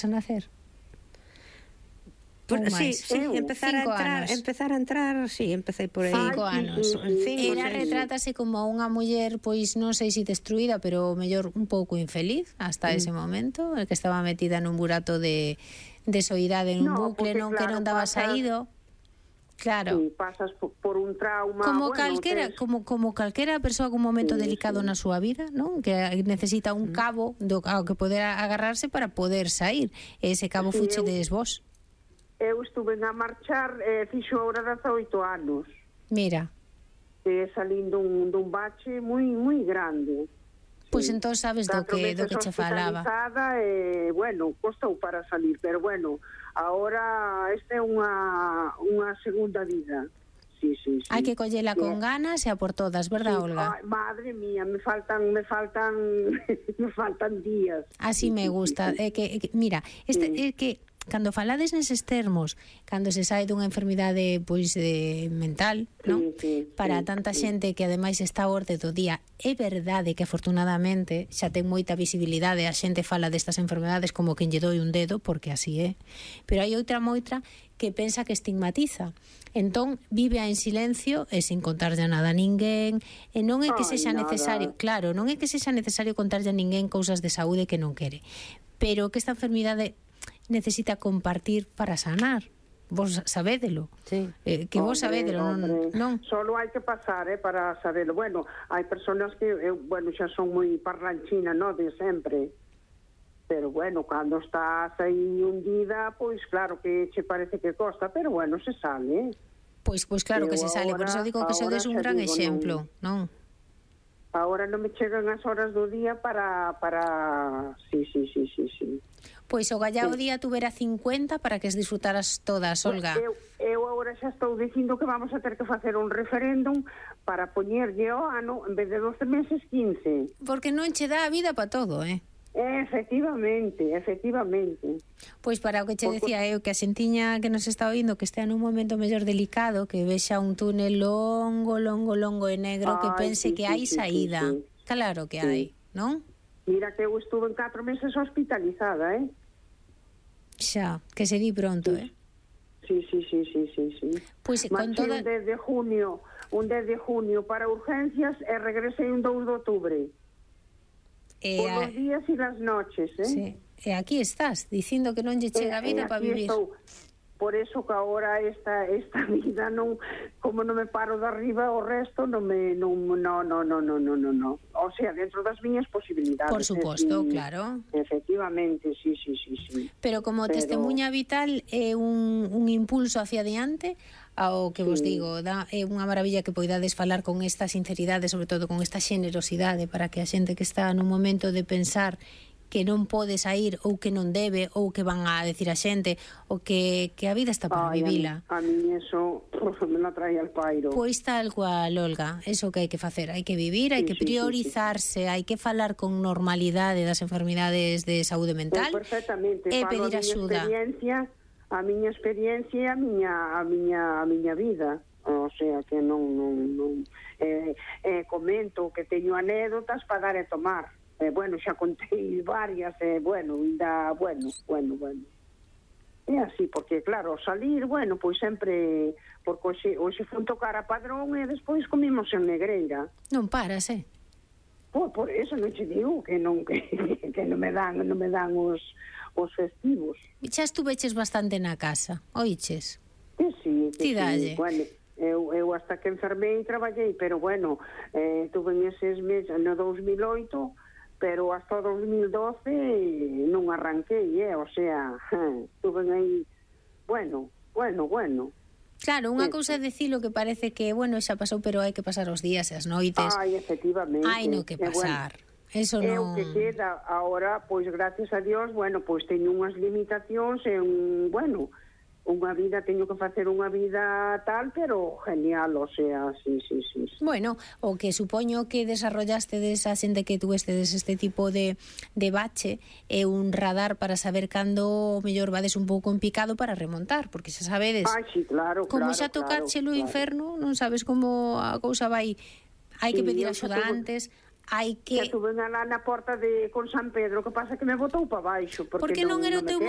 a nacer? Sí, empezar a entrar, sí, empecé por aí. 5 anos. Ela retrátase como unha muller, pois non sei se destruída, pero mellor un pouco infeliz hasta ese momento, que estaba metida nun burato de soidade, nun bucle, non que non daba saído. Claro. Sí, pasas por un trauma. Como calquera, como calquera persoa con un momento delicado na súa vida, non? Que necesita un cabo ao que poder agarrarse para poder sair. Ese cabo fuche des vos. Eu estuve a marchar, fixo ahora 18 anos. Mira. Salín dun bache moi grande. Pois entón sabes do que che falaba. Bueno, costou para salir, pero bueno, ahora esta é unha segunda vida. Sí. Hai que collela con ganas e a por todas, verdad, Olga? Madre mía, me faltan días. Así me gusta. Mira, é que cando falades neses termos, cando se sae dunha enfermidade pois mental, non? Para tanta xente que ademais está a orde do día, é verdade que afortunadamente xa ten moita visibilidade, a xente fala destas enfermedades como quen lle doi un dedo, porque así é. Pero hai outra moita que pensa que estigmatiza. Entón vive en silencio e sin contarlle nada a ninguén, e non é que sexa necesario, claro, non é que sexa necesario contarlle a ninguén cousas de saúde que non quere, pero que esta enfermidade necesita compartir para sanar. Vos sabédelo. Sí. Que vos sabédelo, non? Solo hai que pasar, para saberlo. Bueno, hai personas que, xa son moi parlanchina, non, de sempre. Pero bueno, cando estás aí hundida, pois claro que che parece que costa, pero bueno, se sale. Pois claro que se sale, por eso digo que sodes un gran exemplo, non? Ahora non me chegan as horas do día para... Sí. Pois o gallao día tuvera 50 para que as disfrutaras todas, Olga. Eu agora xa estou dicindo que vamos a ter que facer un referéndum para poñerlle o ano, en vez de 12 meses, 15. Porque non che dá a vida para todo, Efectivamente. Pois para o que che decía eu, que a xentiña que nos está oindo, que estea nun momento mellor delicado, que vexa un túnel longo e negro, que pense que hai saída. Claro que hai, non? Mira que eu estuve en 4 meses hospitalizada, Xa, que se di pronto, Sí. Pois con toda... un 10 de junio para urgencias e regresei un 2 de outubro. Por los días e las noches, Sí. E aquí estás, dicindo que non lle chega a vida para vivir. Por eso que agora esta vida non, como non me paro de arriba, o resto non. O sea, dentro das miñas posibilidades. Por suposto, claro. Efectivamente, sí. Pero como testemunha vital é un impulso hacia adiante, ao que vos digo, é unha maravilla que poidades falar con esta sinceridade, sobre todo con esta xenerosidade, para que a xente que está nun momento de pensar que non pode sair ou que non debe ou que van a decir a xente ou que a vida está para vivila. A mí eso me la trae al pairo. Pois tal cual, Olga, eso que hai que facer, hai que vivir, hai que priorizarse, hai que falar con normalidade das enfermidades de saúde mental e pedir axuda. A miña experiencia e a miña vida. O sea, que non comento que teño anécdotas para dar e tomar. Bueno, xa contei varias, bueno. É así, porque claro, salir, bueno, pois sempre, porque hoxe fun tocar a Padrón e despois comimos en Negreira. Non paras, Por eso non che digo que non me dan os festivos. Xa estuveches bastante na casa, oiches? Sí. Dalle. Bueno, eu hasta que enfermei traballei, pero bueno, tuve en eses meses no 2008, pero hasta o 2012 non arranquei, o sea, estuve aí, bueno. Claro, unha cousa é dicilo que parece que, bueno, xa pasou, pero hai que pasar os días e as noites. Efectivamente. Hai no que pasar. Eso non... É o que queda agora, pois, gracias a Dios, bueno, pois teño unhas limitacións e unha vida, teño que facer unha vida tal, pero genial, o sea, sí. Bueno, o que supoño que desarrollaste desa xente que tuestes este tipo de bache é un radar para saber cando mellor vades un pouco en picado para remontar, porque xa sabedes, sí, claro, como xa tocache o inferno, non sabes como a cousa vai, hai que pedir axuda antes, hai que... Xa tuve lá na porta con San Pedro, que pasa que me botou para baixo. Porque non era o teu momento.